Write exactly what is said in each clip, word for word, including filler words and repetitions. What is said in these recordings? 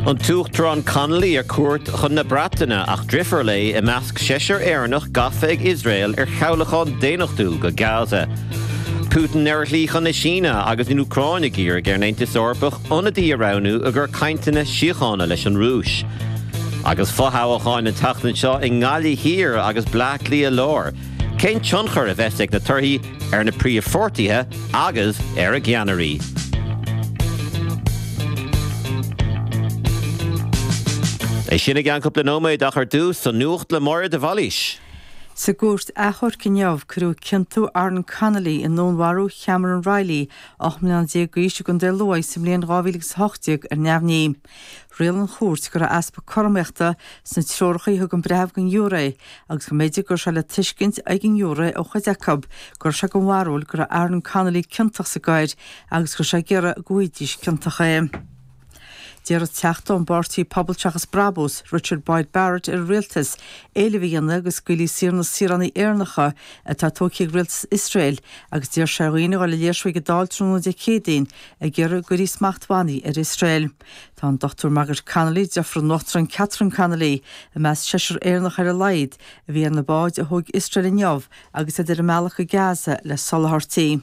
An tUachtarán Connolly ar cuairt chun na Breataine ach deirfiúr léi i measc seisear Éireannach gafa ag Iosrael ar chabhlachán daonnachtúil go Gaza. Putin ar a shlí chun na Síne agus an Úcráin ag iarraidh ar an Aontas Eorpach ionadaí a roghnú i gcomhair cainteanna síochána leis an Rúis. Agus fothoghcháin an tseachtain seo i nGaillimh Thiar agus Bleá Cliath Láir. Cén tionchar a bheas ag na torthaí ar na príomhpháirtithe agus ar a gceannairí. É sin i gceann cúpla nóiméad ach ar dtús an nuacht le Máire de Bhailís. Sa gcúirt achomhairc inniu, cuireadh ciontú Aaron Connolly i ndúnmharú Chameron Reilly, ocht mbliana déag d'aois i gContae Lú sa mbliain dhá mhíle agus a hocht déag ar neamhní. Rialaigh an chúirt go raibh easpa cothromaíochta sna treoracha a thug an breitheamh don ghiúiré agus go mb'fhéidir go raibh sé le tuiscint ag an ngiúiré ó chuid acu go raibh sé den bharúil go raibh Aaron Connolly ciontach sa gcoir agus go raibh sé ag iarraidh go bhfaighidís ciontach é. D'iarr an Teachta ón bpáirtí Pobal Seachas Brabús, Richard Boyd Barrett ar an Rialtas éileamh a dhéanamh go scaoilfí saor na saoránaigh Éireannacha atá tógtha ag Rialtas Iosrael agus d'iarr sé ar dhaoine a dhul ag léirsiú ag an Dáil tráthnóna Dé Céadaoin ag iarraidh go gcuirfí smachtbhannaí ar Iosrael. Tá an Dochtúir Margaret Connolly, deirfiúr an Uachtaráin Catherine Connolly, i measc seisear Éireannach ar a laghad a bhí ar na báid a thóg Iosrael inniu agus iad ar a mbealach go Gaza le soláthairtí.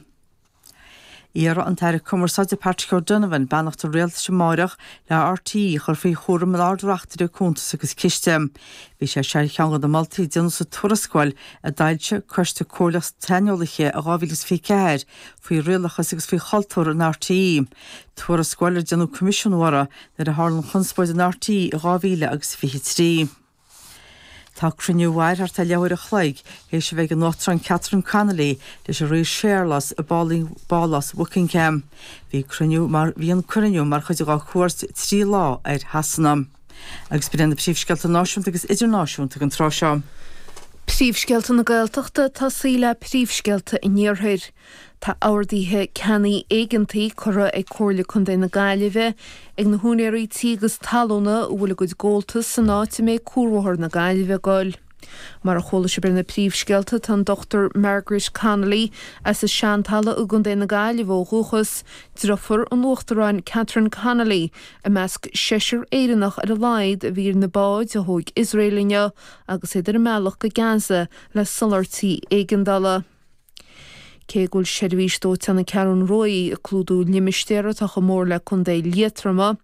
Iarrfaidh an tAire Cumarsáide Patrick O'Donovan beannacht an Rialtais amáireach le RTÉ a chur faoi chúram an Ard-Reachtaire Cuntas agus Ciste. Bhí sé seo ar cheann de na moltaí a déanadh sa tuarascáil a d'fhoilsigh Coiste Comhairleach Saineolaithe i dhá mhíle is fiche ceathair faoi rialachas agus faoi chultúr in RTÉ, tuarascáil ar déanadh coimisiúnú uirthi nuair a tharla an chonspóid in RTÉ i dhá mhíle agus fiche trí. Tá cruinniú a mhair thart ar leathuair a chloig théis a bheith ag an Uachtarán Catherine Connolly leis an Rí Séarlas i bPálás Bhuckingham. Bhí cruinniú mar bhí an cruinniú mar chuid dá chuairt trí lá ar Shasana. Agus b'in iad na príomhscéalta náisiúnta agus idirnáisiúnta don tráth seo. Príomhscéalta na Gaeltachta ag tosaí le príomhscéalta an Iarthair. Tá orduithe ceannaigh éigeantaigh curtha ag Comhairle Contae na Gaillimhe ag na húinéirí tí agus talúna a bhfuil a gcuid gabháltas san áit a mbeidh Cuarbhóthar na Gaillimhe ag goil. Mar a chuala sibh ar na príomhscéalta, tá an Dochtúir Margaret Connolly as an Seantalamh i gContae na Gaillimhe ó dhúchas, deirfiúr an Uachtaráin Catherine Connolly, i measc seisear Éireannach ar a laghad a bhí ar na báid a thóg Iosrael inniu agus iad ar a mbealach go Gaza le soláthairtí éigeandála. Cé go bhfuil seirbhís dóiteáin na Ceathrún Rua ag clúdú limistéar atá chomh mór le Contae Liatroma,